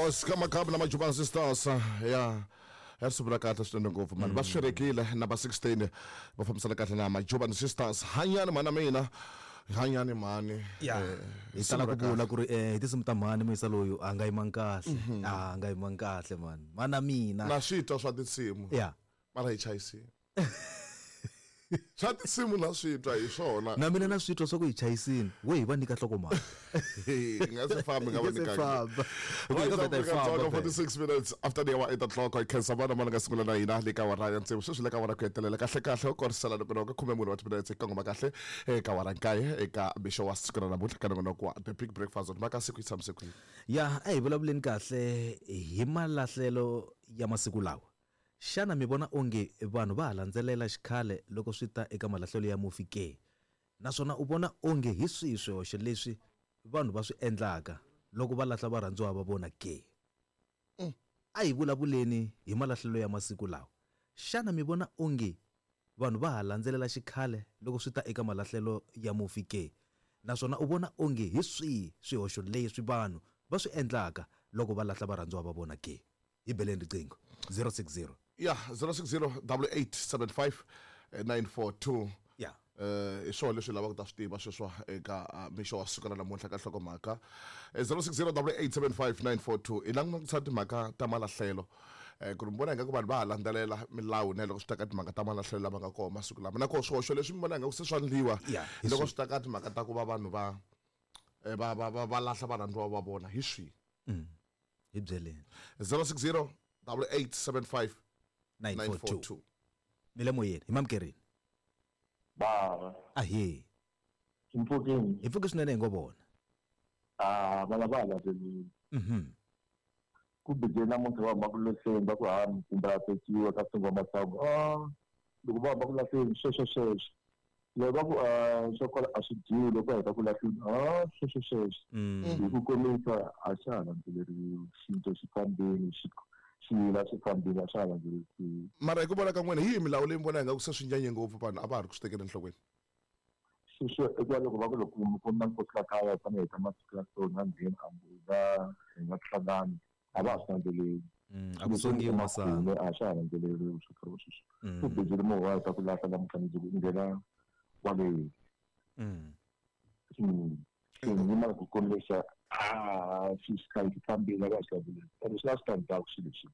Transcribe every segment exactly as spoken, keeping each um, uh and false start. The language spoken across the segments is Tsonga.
Oscar Makabu na Majuban Sisters ya ya sivula kahle swinene ngopfu mani va swirekile number sixteen va fambisana kahle na Majuban Sisters hanyani mhana mina hanyani mhani ya hi tala ku vula ku ri eh hi tinsimu ta mhani muyisa loyu a nga yimanga kahle a nga yimanga kahle mani mana mina na switwa swa tinsimu ya mara hi chayisini swa tinsimu na switwa hi swona na mina na switwa swa ku hi chayisini we hi va nyika nhlokomhaka hi nga se fambi nga va nyika famba forty-six minutes after the hour eight o'clock I khensa vana mana nga sungula na hina le ka wara ya tsevu sweswi le ka wara ku hetelela kahle kahle u korisela loko loko khume mune wa timinetse eka ngoma kahle eka wara nkaye eka mixo wa siku ra namuntlha ka nongonoko wa The Big Breakfast mhaka siku yi tshamise kwini ya a hi vulavuleni kahle hi malahlelo ya masiku lawa. Xana mi vona onge vanhu va ha landzelela xikhale loko swi ta eka malahlelo ya mufi ke? Naswona u vona onge hi swihi swihoxo leswi vanhu va swi endlaka loko va lahla varhandziwa va vona ke? A hi vulavuleni hi malahlelo ya masiku lawa. Xana mi vona onge vanhu va ha landzelela xikhale loko swi ta eka malahlelo ya mufi ke? Naswona u vona onge hi swihi swihoxo leswi vanhu va swi endlaka loko va lahla varhandziwa va vona ke? Hi beleni riqingho zero six zero yeah zero six zero double eight seven five nine four two yeah eh i swona leswi lavaka ku ta swi tiva sweswo eka mixo wa siku ra namuntlha ka nhlokomhaka zero six zero double eight seven five nine four two i langutisa timhaka ta malahlelo eh ku ri mi vona ingaku vanhu va ha landzelela milawu na loko swi ta ka timhaka ta malahlelo lama nga kona masiku lama na koho swihoxo leswi mi vona ingaku se swa ndliwa loko swi ta ka timhaka ta ku va vanhu va va va va lahla varhandziwa va vona hi swihi hi byeleni zero six zero double eight seven five nine four two mi le moyeni hi mamukerini baba ahe hi mpfukini hi pfuke swinene hi ngo vona ah vana va landzelile mhm ku bije namuntlha va huma ku lahleni va ku ha kumbe a tekiwa ka sunguwa masangu ah loko va huma ku lahleni sweswo sweswo loko va ku swo kwala a swi dyiwi loko va heta ku lahleni ah sweswo sweswo hi ku komisa a xa ha landzeleriwi xinto xi fambile xi xiyila xi fambile a xa ha landzeleriwi mara hi ku vona ka n'wina hi yihi milawu leyi mi vona ingaku se swi nyanye ngopfu vanhu a va ha ri ku swi tekela enhlokweni sweswo i ku va loko va ku loko ku na nkosi la kaya hi fanele hi ta masiku ya so na ngheni a nga hi nga hlangani a va ha swi landzeleli a ku songiwi masangu a swa ha landzeleriwi swo fana sweswo ku bijile movha wa heta ku lahla namuntlha mundzuku u nghena kwale mm ku kombisa ah swi xikhale xi fambile a va swi landzeleli kambe swi na switandzhaku swilo leswi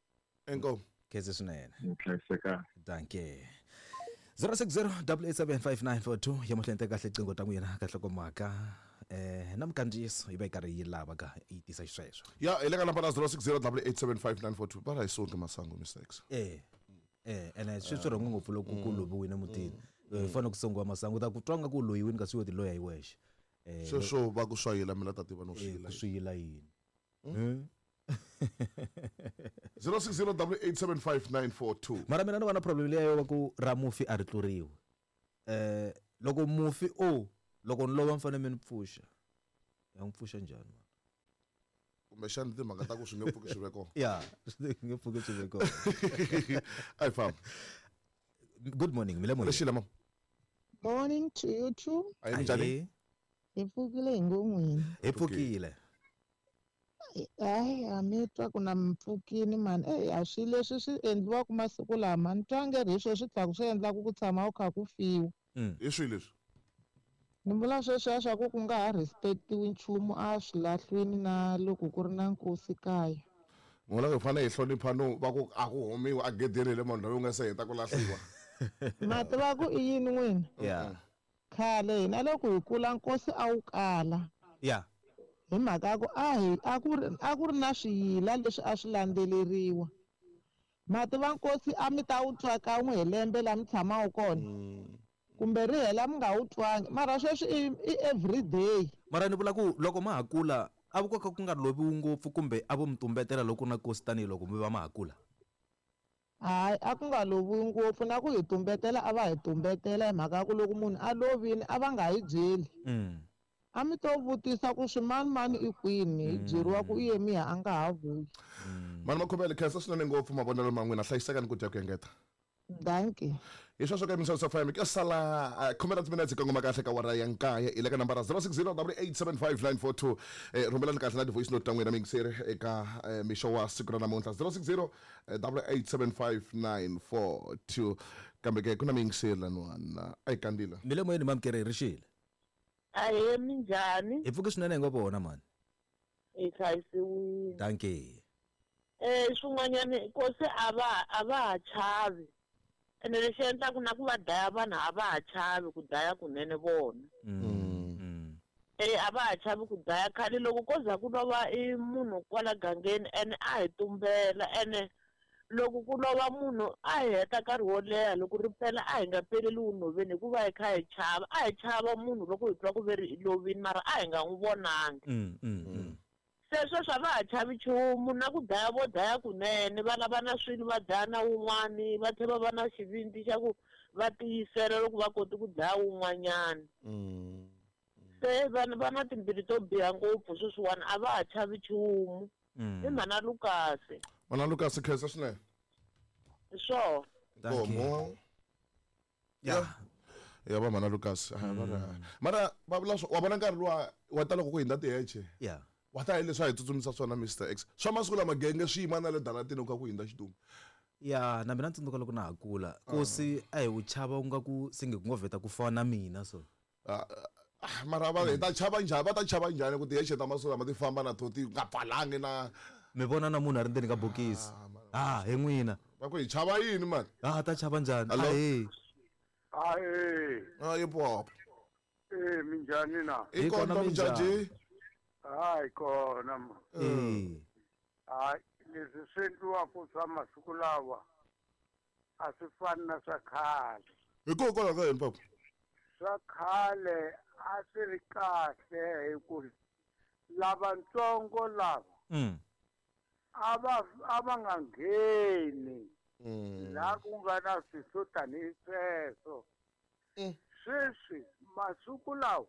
inkomu khensa swinene hlayiseka danke zero six zero double eight seven five nine four two ya mahlweni teka kahle qingho ta n'wina ka nhlokomhaka eh na mikandziyiso yi va yi karhi yi lava ka yi tisa xisweswo ya hi le ka nambara zero six zero double eight seven five nine four two va ra hi songi masangu mistakes eh eh ene swi swi rhongo ngopfu loko ku loviwile mutini hi fanele ku songiwa masangu ta ku twa nga ku loyiwini kasi yo ti loya hi wexe eh sweswo va ku swayila mina ta tiva no swiyila ku swiyila yini zero six zero double eight seven five nine four two mara mina ni vona problem leyi yo va ku ra mufi a ri tluriwi eh loko mufi o loko ni lova mi fanele mi ni pfuxa ya n'wi pfuxa njhani mara kumbexana timhaka ta ku swi nge pfuki swi ve kona ya swi nge pfuki swi ve kona a hi famba good morning mi le moyeni lexi lama morning to you too a hi njhani hi pfukile hi ngon'wini hi pfukile hayi a mi twa ku na mpfukini mani eyi a swi leswi swi endliwaka masiku lama ni twa nge ri hi swo swi tlhaku swi endlaku ku tshama u kha ku fiwa hi swihi leswi ni vula sweswiya swa ku ku nga ha respectiwi nchumu a swilahlwini na loko ku ri na nkosi kaya vona hi fanele hi hlonipha no va ku a ku humiwi a gedeni le munhu loyi u nga se heta ku lahliwa ma tiva ku i yini n'wina ya khale hina loko hi kula nkosi a wu kala ya hi mhaka ya ku a hi a ku ri a ku ri na swiyila leswi a swi landzeleriwa ma tiva nkosi a mi ta wu twa kan'we hi lembe laha mi tshamaka kona kumbe ri hela mi nga wu twangi mara sweswi i i everyday mara ni vula ku loko ma ha kula a ku ka ku nga loviwi ngopfu kumbe a vo mi tumbetela loko na nkosi tanihiloko mi va ma ha kula hayi a ku nga loviwi ngopfu na ku hi tumbetela a va hi tumbetela hi mhaka ya ku loko munhu a lovile a va nga hi byeli a mi to vutisa ku swimanimani i kwini hi byeriwa ku i ye miha a nga ha vuyi mani makhomele khensa swinene ngopfu mavonelo ma n'wina hlayisekani ku dya ku engeta Dankie. Hi sweswo ka Mixo F M ke sala khume ra timinetse kongoma kahle ka wara ya nkaye i le ka nambara zero six zero double eight seven five nine four two. Eh, rhumelani kahle na ti-voice note ta n'wina miyingiseri eka eh, mixo wa siku ra namuntlha zero six zero double eight seven five nine four two. Kambe ke ku na miyingiseri laniwani a yi kandzila. Mi le moyeni mamukeri ri xile. Ahee, minjhani? Hi pfuke swinene hi ngo vona mani. Hi hlayisiwile. Dankie. Eh, swin'wanyani nkosi a va a va ha chavi. Ene lexi endlaku na ku va dlaya vanhu a va ha chavi ku dlaya kunene vona. Mm. Eh, a va ha chavi ku dlaya khale loko ko za ku lova i munhu kwala gangeni ene a hi tumbela ene loko ku lova munhu a hi heta nkarhi wo leha loko ri pela a hi nga peleli nhoveni hikuva hi kha hi chava a hi chava munhu loko hi twa ku ve ri i lovini mara a hi nga n'wi vonangi. Mm, mm, mm. Se sweswi a va ha chavi nchumu na ku dlaya vo dlaya kunene va lava na swilo va dlaya na wun'wani va tlhela va va na xivindzi xa ku va tiyisela loko va koti ku dlaya wun'wanyana. Se vanhu va na timbilu to biha ngopfu sweswiwani a va ha chavi nchumu. I mhana Lukasi. Mhana Lukasi khensa swinene. Hi swona. Nkomo. Ya. Ya va mhana Lukasi. Mara va vula swo wa vona nkarhi luwa wa ta loko ku hindza tiheche. Ya. Wa ta hi leswi a hi tsutsumisa swona Mister X. Swa masiku lama genge swi yima na le daratini ku kha ku hindza xitumbu. Ya, na mina ni tsundzuka loko na ha kula. Nkosi a hi wu chava ku nga ku se nge ku ngo vheta ku fana na mina so. Mara va hi ta chava njhani va ta chava njhani ku tiheche ta masiku lama ti famba na to ti nga pfalangi na mi vona na munhu a ri ndzeni ka bokisi. Ah, hi n'wina. Va ku hi chava yini mani? Ah, ta chava njhani? Hello? Ahee. Ahee. Ah, pop. Eh, minjhani na? I kona minjhani? Hayi kona ma. Eh. Hayi, leswi swi endliwaka swa masiku lawa a swi fani na swa khale. Hikokwalaho ka yini papa? Swa khale a swi ri kahle hi ku lavatsongo lava Mm. a va a va nga ngheni laha ku nga na swilo swo tanihi sweswo. Sweswi masiku lawa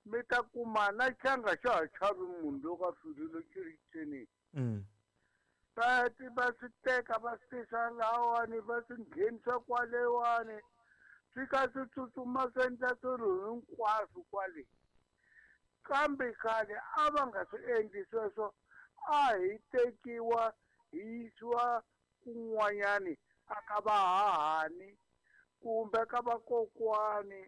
mi ta kuma na xanga xa ha chavi munhu loko a file xi ri tsenini. Mm. Va ti va swi teka va swi tisa lahawani va swi nghenisa kwalewani swi ka swi tsutsuma swi endla swilo hinkwaswo kwale. Kambe khale a va nga swi endli sweswo a hi tekiwa hi yisiwa kun'wanyani a ka vahahani kumbe ka vakokwani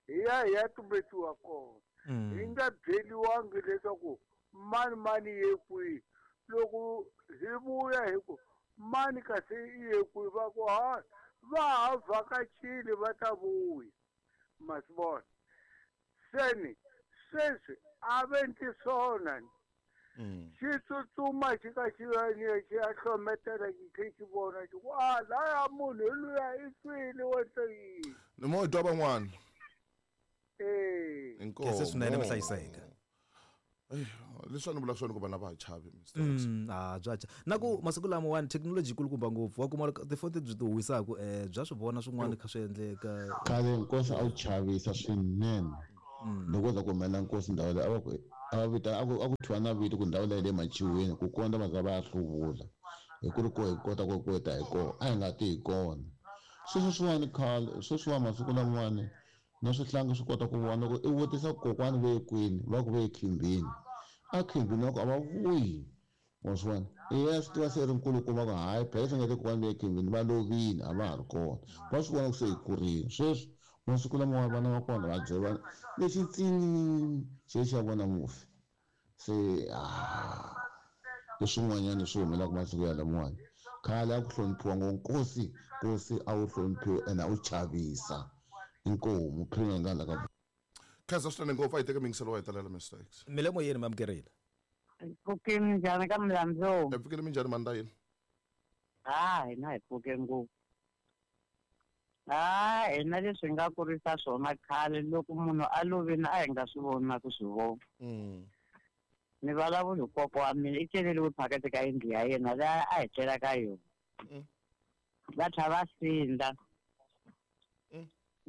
hi ya hi ya tumbetiwa kona. Hi nga byeliwangi leswaku mani mani ye kwihi. Loko hi vuya hi ku mani kasi i ye kwihi va ku ha va ha vhakachile va ta vuya. Ma swi vona? Seni sweswi a va endli swona. Xi tsutsuma xi ka xi ya xi ya hlometela xi tlhe xi vona xi ku a laya munhu hi luya i file wa endla yini. Ni mo twa van'wana. Eh. Inkomo. Khensa swinene mi hlayiseka. Ey, leswi a ni vula swona ku vanhu a va ha chavi Mister X. Mm, ah, bya cha. Na ku masiku lamawani thekinoloji yi kulukumba ngopfu wa kuma tifoni leti byi ti huwisaka eh bya swi vona swin'wana kha swi endleka. Khale nkosi a wu chavisa swinene. Loko za ku humelela nkosi ndhawu leyi a va ku a va vita a ku a ku thyiwa na vito ku ndhawu leyi le machiweni ku kondza va za va ya hluvula hi ku ri ko hi kota ku ku ta hi kona a hi nga ti hi kona. Sweswiwani khale sweswiwani masiku lamawani na swihlangi swi kota ku vona loko i vutisa kokwani ve ye kwini va ku ve ye khimbini a khimbini va ku a va vuyi wa swi vona i ya swi tiva se ri nkulukumba ku hayi phela swi nga te kokwani ve ye khimbini va lovile a va ha ri kona va swi vona ku se hi kurile sweswi masiku lamawa vana va kona va byela lexi tsinini xi xa vona mufi se ah leswin'wanyana swi humelelaka masiku ya lamawani khale a ku hloniphiwa ngo nkosi nkosi a wu hloniphiwa ene a wu chavisa. Inkomu phela nga la ka Khensa swinene ngopfu a hi teke miyingiselo wa hetelela Mister X. Mi le moyeni mi amukerile. Pfukile minjhani ka Mlambo? Hi pfukile minjhani Mandayini? Ha, hina hi pfuke ngopfu. Ha, hina leswi hi nga kurisa swona khale loko munhu a lovile a hi nga swi voni na ku swi vona. Ni vulavula hi kokwa wa mina i celeriwe phakathi ka yindlu ya yena laha a hi tlela ka yona. Va tlhela va sindza.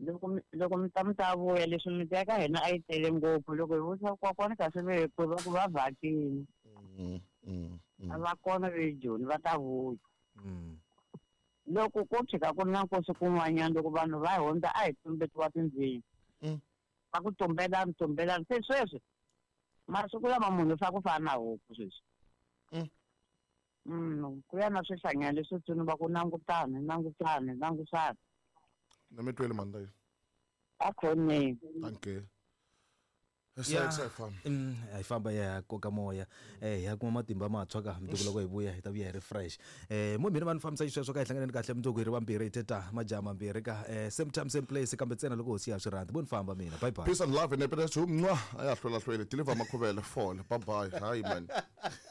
Loko mi loko mi ta mi ta vuya leswi miti ya ka hina a yi tele ngopfu loko hi vutisa kokwani kasi ve ye kwihi va ku va vhakile. A va kona ve Joni va ta vuya. Loko ko tshika ku ri na nkosi kun'wanyana loko vanhu va hundza a hi tumbetiwa tindzimi. Mm. Va ku tumbelani tumbelani se sweswi masiku lama munhu swa ku fana na huku sweswi. Mm. Mm, ku ya na swihlanyana leswitsongo va ku langutani langutani langutani. Na mi twele mani A khoneni. Dankie. Ya. Se famba. Mm, a hi famba ya koka moya eh hi ya kuma matimba mantshwa ka mundzuku loko hi vuya hi ta vuya hi ri fresh eh mo mina va ni fambisa xisweswo ka hi hlanganeni kahle mundzuku hi ri vambirhi hi teta majaha mambirhi ka eh same time same place kambe ntsena loko hosi ya swi rhandza vo ni famba mina bye bye Peace and love and happiness. Mwah. Aya hlwela hlwele. Deliver makhuvele fall. Bye bye. Hi man.